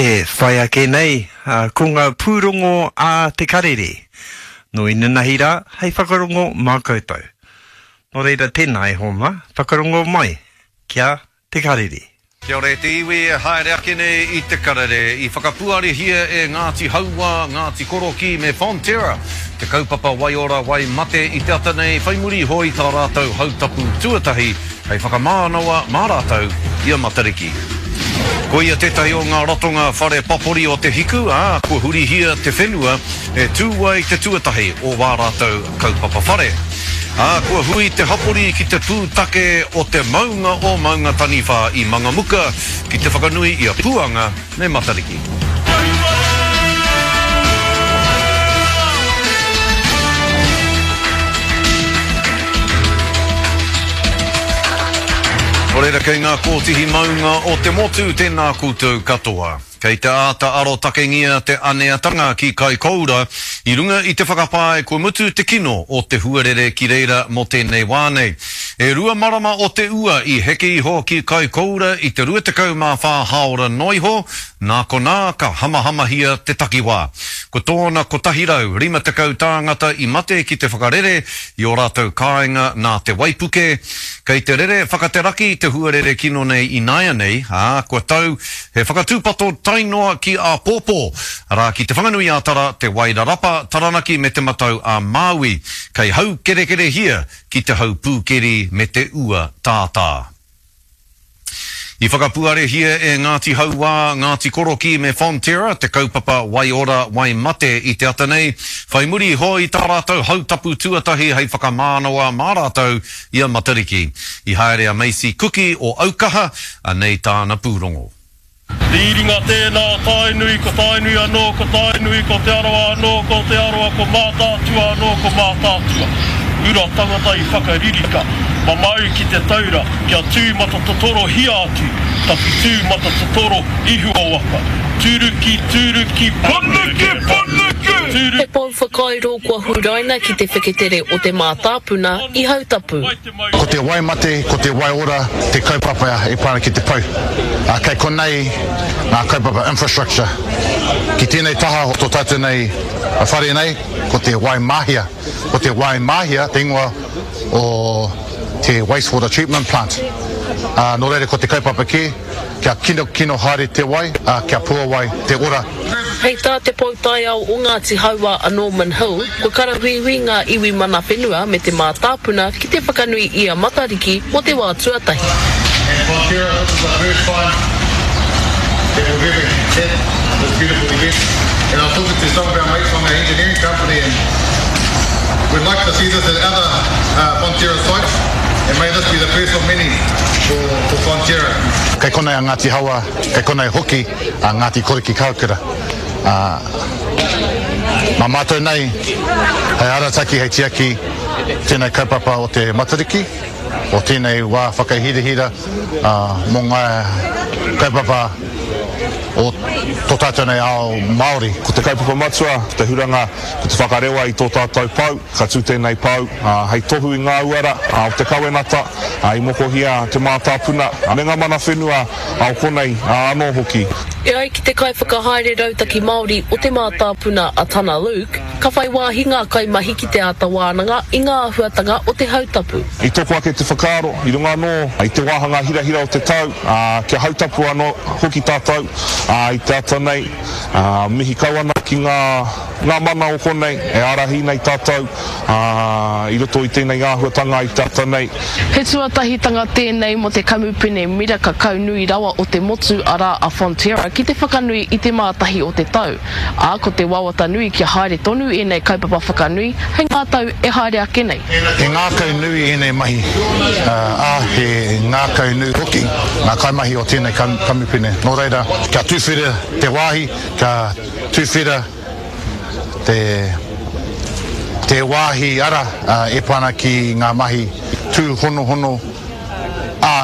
E whai ake nei, ko ngā pūrongo a Te Karere. Nō inanahi rā, hei whakarongo mā koutou. Nō reira, tēnā e hoa mā, whakarongo mai ki a Te Karere. Kia ora e te iwi e haere ake nei i Te Karere. I whakapuarehia e Ngāti Hauā, Ngāti Korokī me Fonterra te kaupapa waiora wai mate i te ata nei whai muri iho i tā rātou hautapu tuatahi hei whakamānawa mā rātou i a Matariki. Koia tētahi o ngā ratonga whare papori o Te Hiku, ā, kua hurihia te whenua e tū ai te tuatahi o wā rātou kaupapa whare. Ā, kua hui te hapori ki te pūtake o te maunga o Maungataniwha i Mangamuka ki te whakanui i a Puanga me Matariki. Nō reira kei ngā kōtihi maunga o te motu tēnā koutou katoa. Kei te āta arotakengia te aneatanga ki Kaikoura i runga i te whakapae kua mutu te kino o te huarere ki reira mō tēnei wā nei. E rua marama o te ua i heke iho ki Kaikoura i te 24 hāora noa iho, nā konā ka hamahamahia te takiwā. Ko tōna 150 tāngata i mate ki te whakarere i ō rātou kāinga nā te waipuke. Kei te rere whakateraki te huarere kino nei ināianei, ā, kua tau he whakatūpato tae noa ki āpōpō, arā, ki Te Whanganui-ā-Tara, Te Wairarapa, Taranaki me Te Matau-a-Māui, kei haukerekerehia ki te hau pūkeri me te ua tātā. I whakapuarehia e Ngāti Hauā, Ngāti Korokī me Fonterra te kaupapa Wai Ora, Wai Mate i te ata nei, whai muri iho i tā rātou hautapu tuatahi hei whakamānawa mā rātou i a Matariki. I haere a Macy Kuki o Aukaha, anei tāna pūrongo. Rīringa tēnā o Tainui, ko Tainui anō, ko Tainui, ko Te Arawa anō, ko Te Arawa, ko Mātaatua anō, ko Mātaatua. Ura tangata i whakaririka, mamau ki te taura, kia tū matatotorohia atu, tawhitū matatotoro ihu o waka. Turuki, turuki, paneke, paneke! He pou whakairo kua huraina ki te wheketere o te mātāpuna i Hautapu. Ko te wai mate, ko te wai ora te kaupapa e pā ana ki te pou. Ā, kei konei ngā kaupapa infrastructure. Ki tēnei taha o tō tātou nei whare nei, ko te wai mahia. Ko te wai mahia te ingoa o te wastewater treatment plant. Ā, nō reira ko te kaupapa kē, kia kinokino haere te wai, ā, kia puawai te ora. Hei tā te pou taiao o Ngāti Hauā a Norman Hill, kua karawhiwhi ngā iwi mana whenua me te mātāpuna ki te whakanui i a Matariki mō te wā tuatahi. And Fonterra, this is the first time that we've ever had this beautiful event and I was talking to some of our mates from our engineering company and we'd like to see this at other Fonterra sites and may this be the first of many for, for Fonterra. Kei konei a Ngāti Haua, kei konei hoki a Ngāti Koriki Kahukura, ā, mā mātou nei hei arataki, hei tiaki tēnei kaupapa o te Matariki, o tēnei wā whakahirahira mō ngā kaupapa o tō tātou nei ao Māori. Ko te kaupapa matua, ko te huranga, ko te whakarewa i tō tātou pou, ka tū tēnei pou hei tohu i ngā uara o te kawenata i mokohia te mātāpuna me ngā mana whenua o konei anō hoki. E ai ki te Kaiwhakahaere Rautaki Māori o Te Mātāpuna a Tana Luke, ka whai wāhi ngā kaimahi ki te āta wānanga i ngā āhuatanga o te hautapu. I toko ake te whakaaro, i runga anō i te wāhanga hirahira o te tau, kia hautapu anō hoki tātou i te ata nei. Mihi kau ana ki ngā ngā mana o konei e ārahi nei tātou i roto i tēnei āhuatanga i te ata nei. He tuatahitanga tēnei mō te kamupene miraka kau nui rawa o te motu arā a Fonterra ki te whakanui i te mātahi o te tau, ā, ko te wawata nui kia haere tonu ēnei kaupapa whakanui hei ngā tau e haere ake nei. He ngākau nui ēnei mahi, ā, he ngākau nui hoki ngā kaimahi o tēnei kamupene. Nō reira, kia tuwhera te wāhi, kia tuwhera te te wāhi ara e pā ana ki ngā mahi tūhonohono, ā,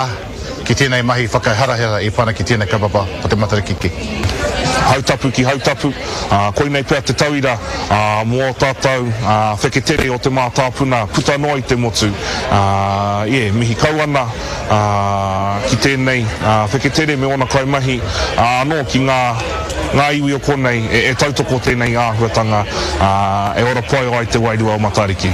ki tēnei mahi whakaharahara e pā ana ki tēnei kaupapa o te Matariki ki. Hautapu ki Hautapu, ā, koinei pea te tauira, ā, mō ō tātou, ā, wheketere o te mātāpuna puta noa i te motu, ā, yeah, mihi kau ana, ā, ki tēnei, ā, wheketere me ōna kaimahi, ā, anō ki ngā. ngā iwi o konei e tautoko tēnei āhuatanga, ā, e ora pai ai te wairua o Matariki.